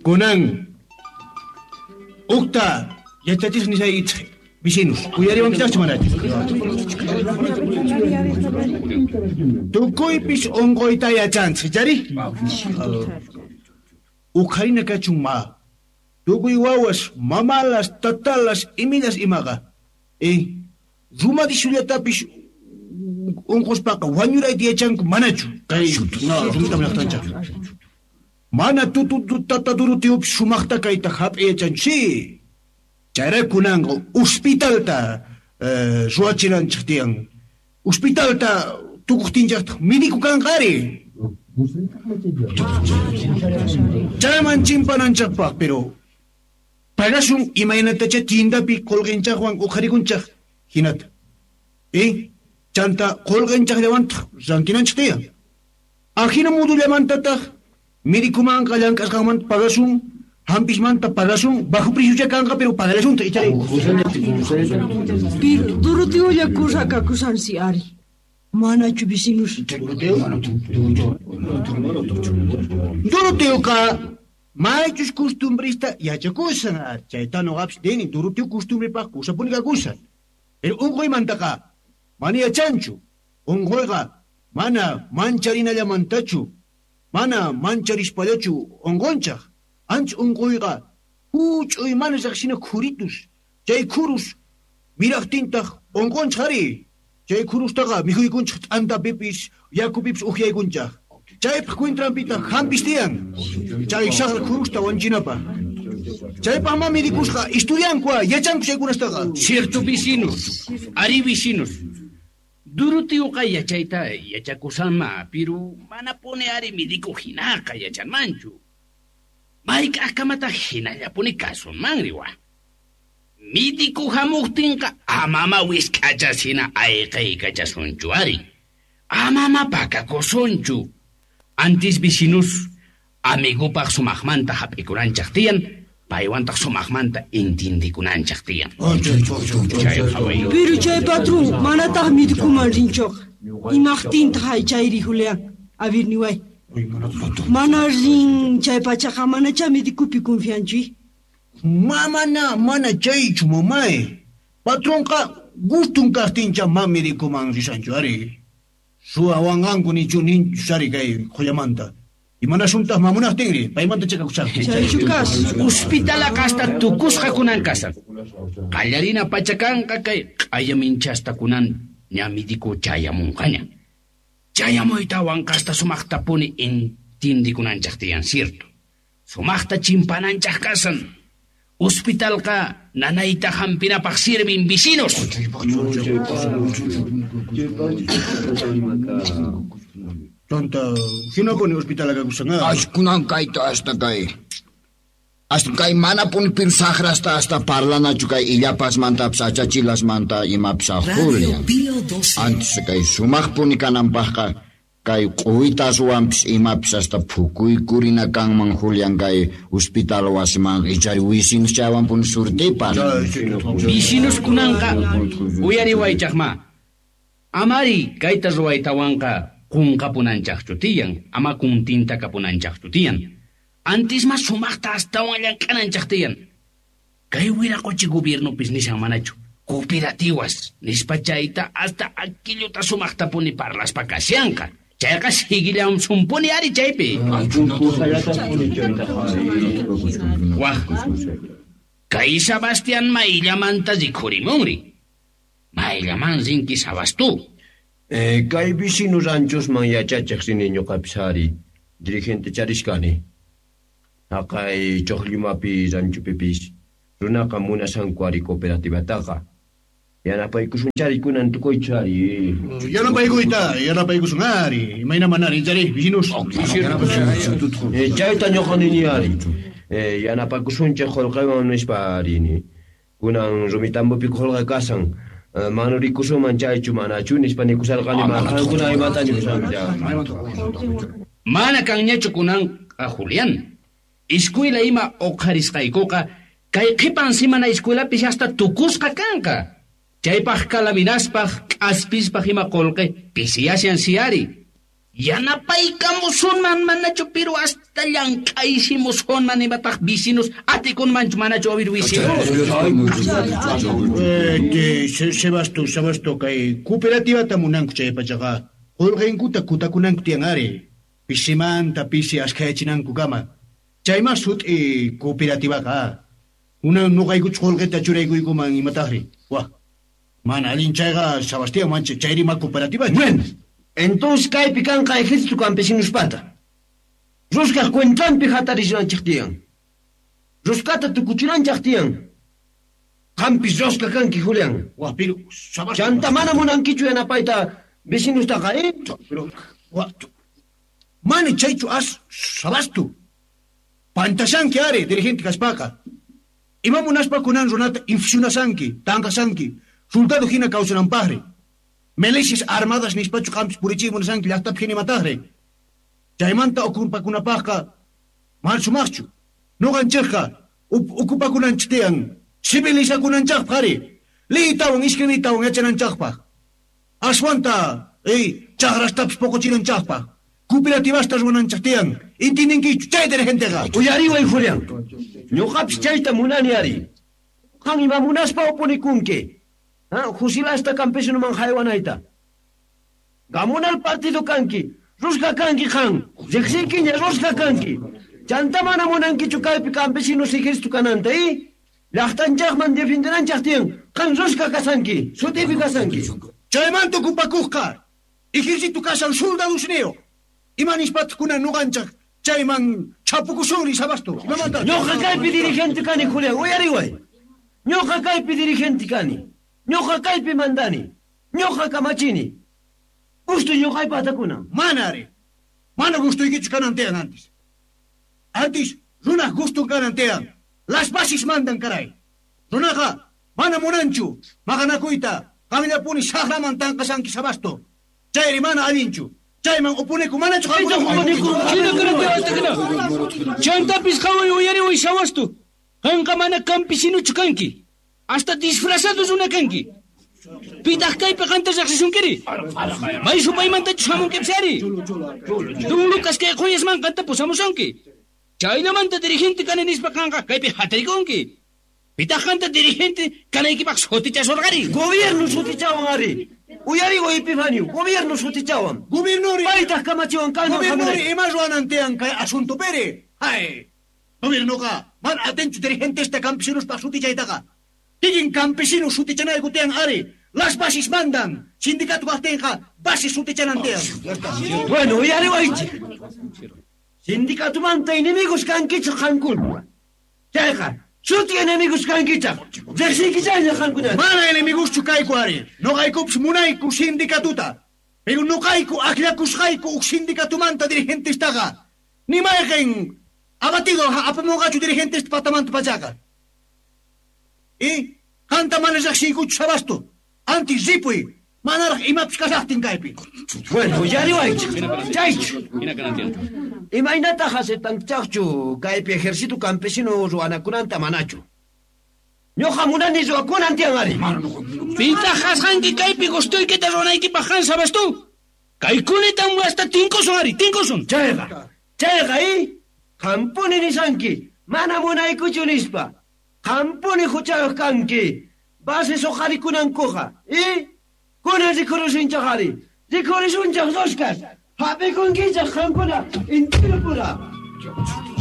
Kunan ukta yachachisqa nisaykichik vecinos, uyariwankichaqchu manachu? Tukuypis unquyta yachanchik, chari? Uqharina kachun ma. Tukuy wawas, mamalas, tatalas, iminas imaqa. Rumadishullatapis unquspaqa wañurayta yachanku manachu? Kay rumita munaqtanchaq. Mana tata Doroteo sumaqta kayta hap'i yachanchu. Si. Chayrayku kunanqa hospitalta ruwachinanchik tiyan. Hospitalta tukuqtinchaqtaq médico kanqa ari. Chayman chimpananchaqpaq, pero pagasun imaynatacha tiendapi qulqinchaqwan uqharikunchaq hinata. Chanta qulqinchaqllawantaq rantinanchik tiyan. Ajina modullamantataq médicomanqa llank'asqanmanta pagasun, hampismanta pagasun, bajo precio kanqa, pero pagalasunta ichari. Pero Doroteolla kusakakusansi ari. Manachu vecinos. Doroteoqa maychus costumbrista yachakusan ari. Chayta nuqapis nini, Doroteo costumbripaq kusapuni kakusan. Pero unquymantaqa mana yachanchu. Unquyqa mana mancharinallamantachu, mana mancharispallachu unqunchaq. Ancha unquyqa huch'uy mana riqsina khuritus. Chay khurus miraqtintaq unqunchaq ari. Chay khurustaqa mikhuykunchaq t'antapipis, yakupipis ukyaykunchaq. Chaypaq cuentranpitaq hampis tiyan. Chay saqra khurusta wanchinapaq. Chaypaq ma medikusqa estudiankua, yachanku chaykunastaqa. Cierto vecinos, ari vecinos. Doroteuqa yachayta yachakusanma, pero manapuni ari médico hinaqa yachanmanchu. Mayk'aqkamataq hinallapuni kasunmanri wa. Médico hamuqtinqa amama wisk'achas hina ayqaykachasunchu ari. Amama pakakusunchu. Antis vecinos amigopaq sumaqmanta hap'ikunanchaq tiyan, paywantaq sumaqmanta intindikunanchaq tiyan. Pero chay patrón manataq médicoman rinchuqa. Imaqtintaq chayri Julián? A ver niway. Mana rin chay pachaqa manacha médicopi confianchu. Mamana mana chaychu mamay. Patronqa gustun kaqtincha ma médicoman risanchu ari. Suwawanqanku nichu ninchu ari kay qullamanta. Imanasuntaq mamunaqtinri paymanta chakakuchaq. Chaychu kas. Hospitalaqa hasta tukusqa kunan kasan. Qallarina pacha kanqa kay q'ayaminchasta kunan ña médico chayamunqaña. Chayamuytawan kasta sumaqtapuni intindikunanchaq tiyan, cierto. Sumaqta chimpananchaq kasan. Hospitalqa nanayta hampinapaq sirvin vecinos. Chanta hinapuni hospital kakusan. Kunan kayta hasta kay. Hasta kay manapuni piru saqrasta hasta parlanachu kay illapasmantapis achachilasmanta imapis Julián. Antes kay sumaqpuni kananpaqqa kay q'uwitaswanpis imapis hasta phukuykurina kanman Julián kay hospital wasiman ichari wisinos chaywanpuni surtipan. Vecinos kunanqa uyariwaychaqma. Amari kayta ruwaytawanqa qunqapunanchaqchu tiyan, ama kuntinta kapunanchaqchu tiyan. Antes mas sumaqta astawan llank'ananchaq tiyan. Kay wiraqochi gobiernopis nishan manachu. Cooperativas nispa chayta hasta aquilluta sumaqtapuni parlaspa kashanqa. Chayqa siguillansunpuni ari chaypi. Waj, kay Sebastián mayllamanta rikhurimunri. Mayllaman rinki Sabastu. Kay vecino ranchosman yachachiq rini ñuqapis ari. Dirigente charishkani. Haqay Ch'uqllumapi ranchupipis runaqa munasanku ari cooperativataqa. Yanapaykusunchari kunan tukuychu ari. Yanapaykuyta, yanapaykusun ari. Imayna manari chari vecinos. Chayta ñuqa nini ari. Yanapakusunchik qullqiwan nispa ari. Kunan Rumitambopi qullqi kasan. Manurikusunman chaychu manachu nispa nikusarqani ma qankuna imata nikusanki. Mana kanñachu kunanqa Julián. Escuela ima uqharisqaykuqa kay qhipan simana escuelapis hasta tukusqa kanqa. Chaypaq kalaminaspaq k'aspispaq ima qullqi pisiyashan si ari. Yanapaykamusunman manachu pero hasta llank'aysimusunman imataq vecinos atikunmanchu manachu a ver vecinos. Sebasto kay cooperativata munanku chay pachaqa qullqinkuta kutakunanku tiyan ari. Pisimanta pisi askhayachinanku kama. Chayma sut'i cooperativaqa. Kunan nuqaykuchu qullqita churaykuykuman imataqri. Wah. Mana allin chayqa Sebastián mancha chayrima cooperativa. Bueno, entonces kaypi kanqa ejército campesinospata. Ruskaq cuentranpi hatarishanchik tiyan. Ruskata tukuchinanchik tiyan. Qampis ruska kanki, Julián. Wah, pero Sebastián. Chanta mana munankichu yanapayta vecinustaqa, eh? Pero wah, mana chaychu as Sabasto. Pantashanki ari dirigente kaspaqa. Ima munaspa kunan runata infusionasanki, tanqasanki, soldado hina kawsananpaqri. Milicias armadas nispachu qampis purichiy munasanki llaqtapi hina imataqri. Chaymanta okupakunapaqqa mana sumaqchu. Nuqanchikqa okupakunanchik tiyan, civilizakunanchikpaq ari. Liytawan escribiytawan yachananchikpaq. Aswanta chaqrastapis poqochinanchikpaq. Cooperativasta ruwananchik tiyan. Intindinkichu chay dirigenteqa. Uyariway, Julián. Ñuqapis chayta munani ari. Qan ima munaspa oponikunki. Fusilasta campesinoman haywanayta. Gamunal partido kanki, ruska kanki qan, riqsinkiña ruska kanki. Chanta mana munankichu kaypi campesinos ejército kananta, Llaqtanchaqman defendenanchaq tiyan, qan ruska kasanki, sutipi kasanki. Chaymanta okupakuqqa, ejército kasan soldadosniyo. Ima nispataq kunan nuqanchaq chayman chapukusunri Sabasto. Imamanta? Ñuqa kaypi dirigente kani, Julián, uyariway. Ñuqa kaypi dirigente kani. Ñuqa kaypi mandani. Ñuqa kamachini. Gusto ñuqaypa atakunan. Mana ari. Mana gustuykichu kanan tiyan antes. Antes runaq gustun kanan tiyan. Las bases mandan karay. Runaqa mana munanchu maqanakuyta qamllapuni saqraman tanqasanki Sabasto. Chayri mana allinchu. Chayman upuniku manachu qamkuna. Chantapis qhaway uyariway Sabasto. Qanqa mana campesinuchu kanki. Hasta disfrazado runa kanki. Pitaq kaypi qanta riqsisunkiri. May supaymantachu hamunkipis ari. Don Lucas kay quyasman qanta pusamusunki. Chaynamanta dirigente kani nispa qanqa kaypi hatarikunki. Pitaq qanta dirigente kanaykipaq sutichasurqari. Gobierno sutichawan ari. Uyariway Epifanio, gobierno sutichawan. Gobiernori. Paytaq kamachiwan kayman Gobiernori ima ruwanan tiyan kay asuntupiri. Hay. Gobiernoqa mana atinchu dirigentesta campesinospaq sutichaytaqa. Kikin campesino sutichanayku tiyan ari. Las bases mandan. Sindicato kaqtinqa bases sutichanan tiyan. Bueno, uyariwaychik. Sindicatumanta enemigos kankichik qankuna. Chayqa, suti enemigos kankichik. Riqsinkichayña qankuna. Mana enemigoschu kayku ari. Nuqaykupis munayku sindicatuta. Pero nuqayku akllakusqayku uk sindicatumanta dirigentestaqa. Ni mayqin abatido apamunqachu dirigentesta patamanta pachaqa. Qanta mana riqsiykuchu Sabasto. Antes ripuy. Manaraq imapis kashaqtin kaypi. Bueno, uyariwaychik. Chaychu. Imaynataq aceptanchaqchu kaypi ejército campesino ruwanakunanta manachu. Ñuqa munani ruwakunan tiyan ari. Pitaq kasqanki kaypi gustuykita ruwanaykipaq qan Sabasto. Kaykunatam hasta tinkusun ari, tinkusun. Chayqa, chayqa, Qampuni nisanki, mana munaykuchu nispa. Qampuni huchayuq kanki. Bases uqarikunankuqa, Kunan rikurisunchaq ari. Rikurisunchaq ruskas. Hap'ikunkichaq qankuna intirupura.